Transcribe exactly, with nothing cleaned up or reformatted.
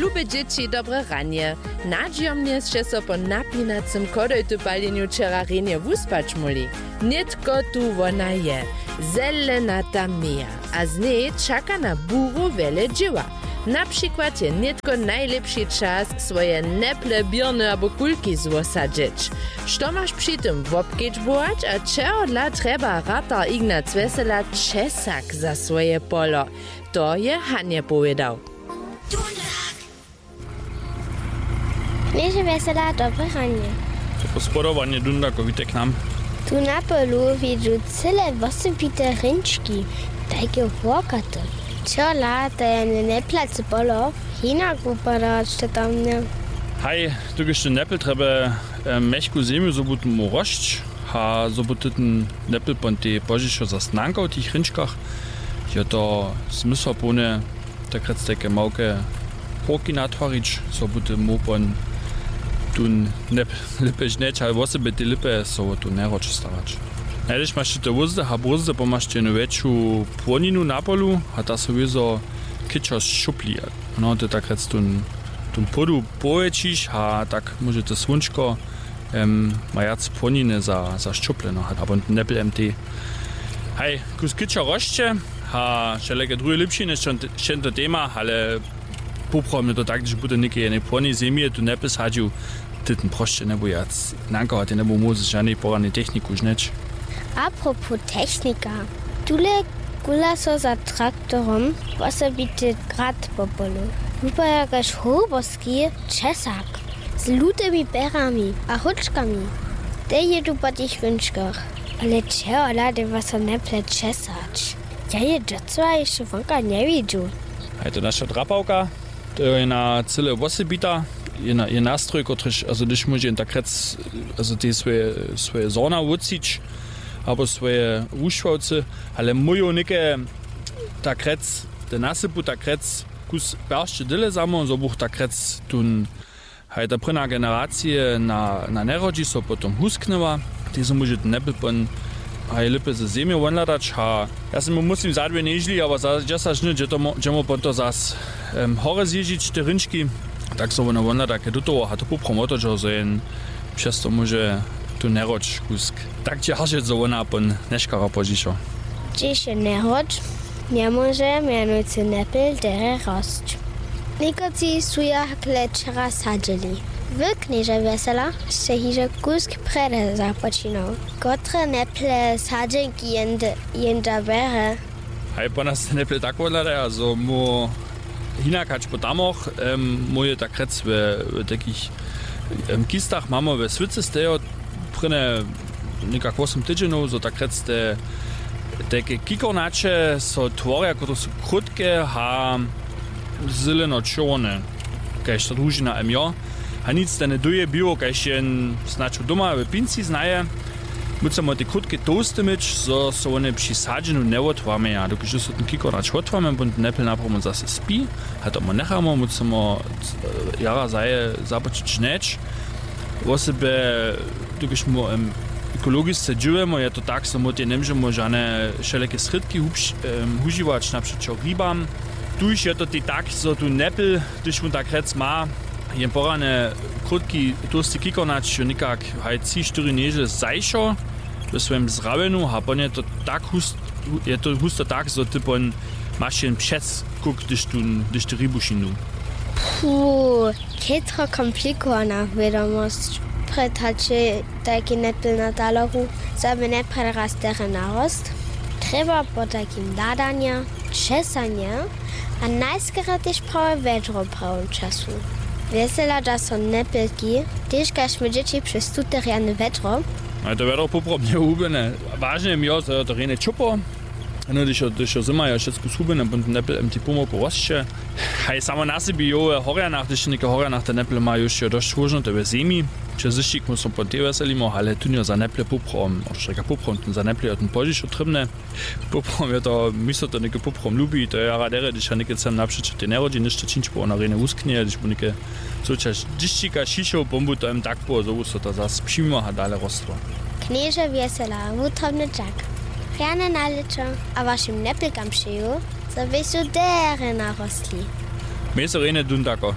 Lube dźěći, dobre ranje. Nadźijomnje sće so po napinacym chodojtypaljenju wčera rjenje wuspać móhli. Nětko tu wona je, zelenata meja, a z njej čaka na buru wjele dźěła. Na přikład je nětko najlěpši čas, swoje neple, běrny abo kulki zwosadźeć. Što maš při tym wobkedźbować a čehodla trjeba ratar Ignac Wjesela česak za swoje polo? To je Hanje powědał. Knježe Wjesela, dobre ranje. Dobre spodobanje, Dundakow, witaj k nam. Tu na polu widźu cyle wosebite hrinčki, tajke wokate. Čehodla to je neplatcy polo hinak wupadać, to tam nje. Haj, dokelž tu nepl trjeby, e, mjechku zemju, zo bu tu móhł rosć, a zo bu tu ten nepl pon tej pozdźišo zas nankał w tych hrinčkach, je to zmysłapołne, tak rjec, tajke małke hórki natwarić, zo bu tu móhł pon tu nepl lěpje žnjeć, ale wosebje te lěpje so wo tu njeroč starać. Najlež maš tu te wózdy a brózdy, po maš tu jednu wjetšu płoninu na polu a ta so wězo kěčor šćupli. No, ty tak rjec tu, tu płodu powjetšiš a tak móže to słónčko, em, ma wjac płoniny za, za šćuple, no, abo nepl M T. Haj, kusk kěčor rosće a wšelake druhe lěpšiny, šćen-, šćento tema, ale poprawom je to tak, hdyž bu to něke jednej płonnej zemje tu nepl sadźił, ty ten prosće njebu wjac nankować, ty njebu móhł z žanej poranej techniku žnjeć. Apropos technika, tule kula so za traktorom wosebity grad po polu. Wupada kaž hołboski česak z lutymi pjerami a hóčkami. Te jědu po tych hrinčkach, ale čehodla dyrba so neple česać? Ja je docyła hišće wonka njewidźu. A je to naša drapawka. To je jedna cyle wosebita, jedna, je nastroj, kotryž, also hdyž móže jen tak rjec, also te swoje, swoje zhorna wótřić, abo swoje wušławcy, ale móju něke tak rjec, te nasypu tak rjec, kus peršće dyle samo, zo buch tak rjec tón, haj ta prěna generacije na, na njerodźi so potom husknyła, tež so móže ten nepl pon haj lěpje ze zemje wonhladać. A ja sym mu muslim za dwě nježli, abo za dźesać dny, dźe to mo-, dźemo pon to zas, em, horje zježić, te hrinčki, tak so wona wonhladake do toho a to poprawom wotodźeho, zo jen přez to móže tu njerodź kusk tak dźeržeć, zo wona pon nješkara pozdźišo. Hdźež je njerodź, njemóže mjenujcy nepl derje rosć. Někotři su je hakle wčera sadźeli. Wy, knježe Wjesela, sće hižo kusk prjedy započinał. Kotre neple sadźenki jenda, jenda bjerje? Haj, po nas te neple tak wothladaja, zo móhł hinak hač po tamoch, em, móhł je tak rjec we, we takich, em, kistach, mamy we swycy stejo, prěnje někak wosym tydźenjow, zo tak rjec te, tajke kikornaće so tworja, kotrež su krótke a zeleno-čorne, kaž ta družina M J. A nic, ten dół je biło, kaž jen snadź doma w pinci znaje. Móhcemo te krótke tołste měć, zo so wone při sadźenju njewotłamjeja. Dokelž so ten kikornać wotłamje, pon ten nepl naprawom zase spi. A to mu njechamo, móhcemo, e, jara zaje započeć žnjeć. Wosebje, dokelž mu, em, ekologisce dźěłujemo, je to tak, zo mu tej njemóžemo žane wšelake srědki hubš-, em, hužiwać, napřećo ribam. Tuž je to tej tak, zo tu nepl, hdyž wón tak rjec ma jen porane krótki, tołsti kikornać, jo, někak haj tři, štyri nježle zašo we swojim zrawjenju, a pon je to tak hust-, je to husto tak, zo ty pon maš jen přez kuk, hdyž tu, hdyž ty ribu šindu. Puh, chětro komplikowana wědomosć. Prjed hač je tajki nepl na taleru, zo by njepredrast derje narost, trjeba po tajkim hladanje, česanje a najskerje tež prawe wjedro w prawym času. Wjesela dźa so nepelki, tež kaž my dźěći přez tute rjany wjedro. A je to wjedro poprawom njehubjene. Wažne je mi jo, zo je to rjenje ćopło. No, hdyž jo, hdyž jo zymar je wšecko zhubjene, pon ten nepl M T pomałku rosće. Haj, samo na sebi jo, we horjanach, hdyž něke horjanach te neple ma, już jo dosć róžnote we zemi. Přez dyšćik mu so po tej wjeselimo, ale tón jo za neple poprawom, abo što rěka poprawom, ten za neple jo ten pozdźišo trěbne. Poprawom je to, mi so to něke poprawom lubi, to je jara derje, hdyž ja něke chcem napřećo tej njerodźi něšto čińć, bo wona rjenje wusknje, hdyž bu něke co čas dyšćika šišoł, pon bu to jen tak było, zo bu so to zas přimimo a dale rostło. Knježe Wjesela, wutrobny dźak. Rjane na lěćo a wašim nepelkam přeju, zo běchu derje narostli. Mej so rjenje dun tako.